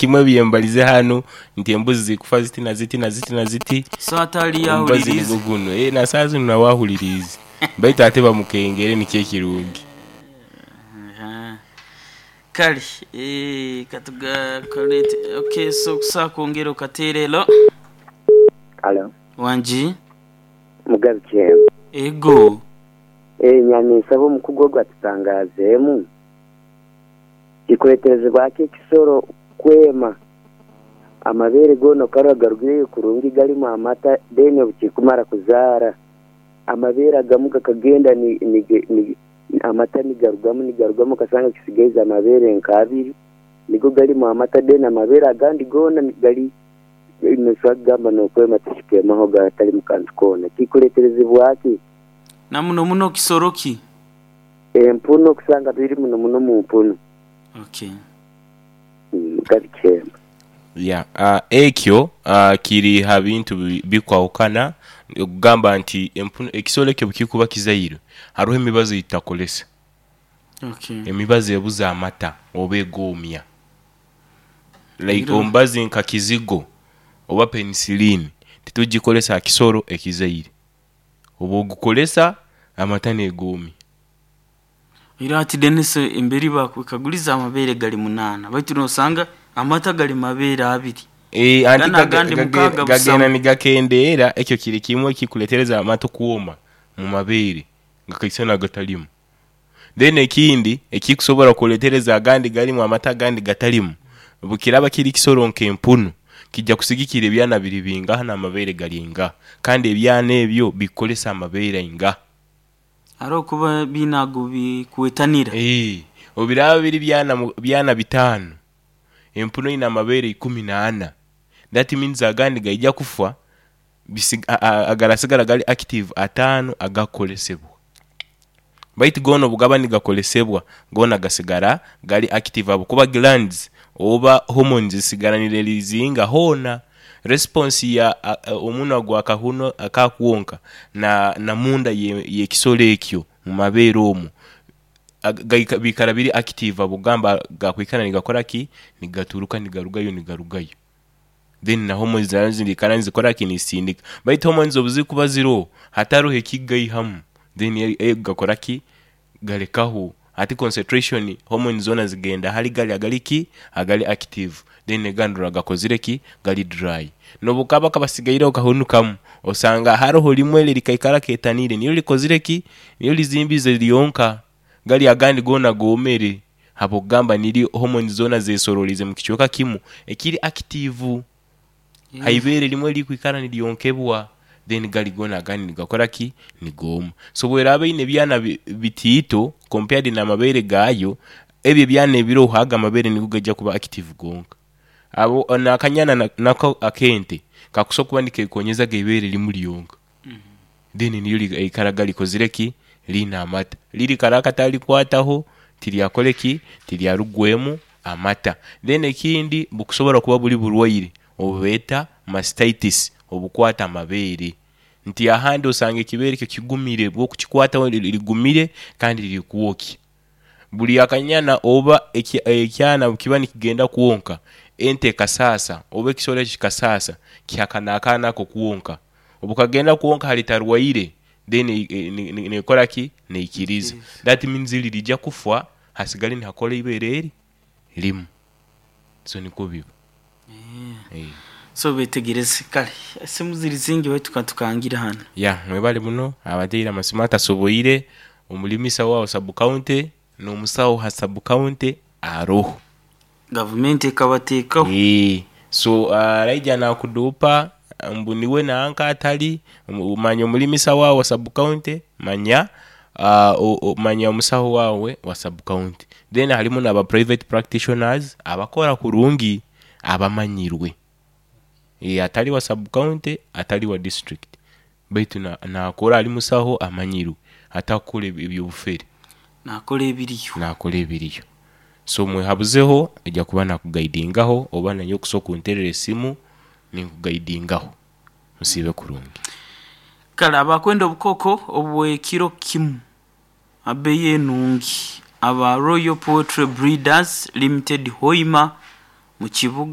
kimwe ebyembalize hanu nti embuzi ziri kufa ziti na ziti na ziti na ziti. So ate aliyo Omubazi ahuliriize. nigwo guno. Eeh na saaha zino nawe ahuliriize. Baitu ate bamukengere nikyo ekirungi. Kale katugakolete ok so okusobola kwongera okateera elo. Alo. Wangi. Mugabi Kyemba. Ego. Eeh nyamyisaba omukugu ogu atutangazeemu, kikuleterezebwa ki ekisolo kwema amabeere goona okarora garugireyo kurungi galimu amata then obukikumara kuzaara amabeere agamu gakagenda amata nigarugamu nigarugamu okasanga kisigaize amabeere nk'abiri nigo galimu amata then amabeere agandi goona gali nosobola kugamba n'okwema tikikwemaho gatalimu kantu koona. Kikuleterezebwa ki? Na muno muno kisolo ki? Empunu okusanga biri muno muno mu mpunu. Okay. Mugabi Kyemba. Ya, ekyo kiri ha bintu bikwawukana okugamba nti empunu ekisolo ekyo bwekikuba kizaire haroho emibazi eyitutakolesa. Okay. Emibazi ebuza amata oba egoomya. Like Era omubazi nka kizigo oba penicillin titugikolesa ha kisolo ekizaire. Oba ogukolesa amata negoomya. Era ati Denis emberi bakwekaguliza amabeere gali munaana baitu nosanga amata gali mabeere abiri. Eeh anti Gano agandi mukaaga gagenda busamu. nigakendeera ekyo kiri kimwe ekikuletereza amata okwoma mu mabeere nga kaisana gatalimu. Then ekindi ekikusobola kuletereza agandi galimu amata agandi gatalimu, bwekiraba kiri kisolo nk'empunu kija kusigikira ebyana biri bingaha n'amabeere gali ingaha kandi ebyana ebyo bikukolesa amabeere aingaha. Aroho kuba biine ago bikwetanira. Eeh obiraba biri byana bitaanu, empunu eine amabeere ikumi n'ana that means agandi gaija kufa agarasigara gali active ataanu agakukolesebwa. Baitu goona obugaba nigakolesebwa goona gasigara gali active ahabwokuba glands oba hormones zisigara ni releasinga hoona. Response ya omunwa gwa kahunu akakwonka na munda y'ekisolo ekyo mu mabeere omwo bikara biri active ahabw'okugamba gakwikara nigakora ki? Nigaturuka nigarugayo nigarugayo. Then na hormones nazo niziikara nizikora ki? Nizisindika. Baitu hormones obuzikuba ziroho hataroho ekigaihamu then gakora ki? Galekaho. Hati concentration hormones zoona zigenda ahari gari agali ki? Agali active then agandi orora gakozire ki? Gali dry. Nobukaba kabasigaireho kahunu kamu osanga haroho rimwe eri erikaikara ketaniire niryo rikozire ki? Niryo rizimbize ryonka. Gari agandi goona goomere ahabw'okugamba niryo hormones zoona zesororiize mu kicweka kimu ekiri active. Haibeere rimwe eririkwikara niryonkebwa then gari goona agandi nigakora ki? Nigooma. So bweraaba eine ebyana bitiito compared n'amabeere gaayo, ebyo ebyana ebiroho ago amabeere nigo gaija kuba active gonka. Abo n'akanyana nako ak'ente kakusobola kuba nikekonyeza eibeere rimu ryonka then niryo riikaraga rikozire ki? Liine amata. Riri kare akatarikwataho tiryakore ki? Tiryarugwemu amata. Then ekindi bukusobola kuba buri burwaire obubeeta mastitis obukwata amabeere. Nti ahandi osanga ekibeere ekyo kigumire bwokukikwataho rigumire kandi riri kwokya. Buri akanyana oba ekyana bwekiba nikigenda kwonka, ente ekasaasa oba ekisolo ekyo kikasaasa, kihakana akaana ako kwonka. Obukagenda kwonka hari tarwaire then nekora ki? Neikiriza. That means lirija kufa hasigale nihakora eibeere eri rimu. So nikwo biba. So betegereze. Kale esimu ziri zingi baitu katukangire hanu. Ya mwebale muno abateire amasimu atasoboire, omulimisa wa sub-county n'omusawo ha sub-county aroho. Gavumenti ekabateekaho. Eeh so araija nakuduupa mbu niwe nanka atali, manya omulimisa waawe wa sub-county, manya manya omusawo waawe wa sub-county. Then harimu n'aba private practitioners abakora kurungi abamanyirwe. Atali wa sub-county, atali wa district baitu nakora ari musaho amanyirwe atakukora eby'obufere. Nakora ebiriyo. Nakora ebiriyo. So mwehabuzeho aija kuba nakugaidingaho oba nainye okusobola kunterera esimu ninkugaidingaho. Musiibe kurungi. Kale abakwenda obukoko obw'ekiro kimu abeeyi enungi aba Royal Poultry Breeders Limited Hoima mu kibuga.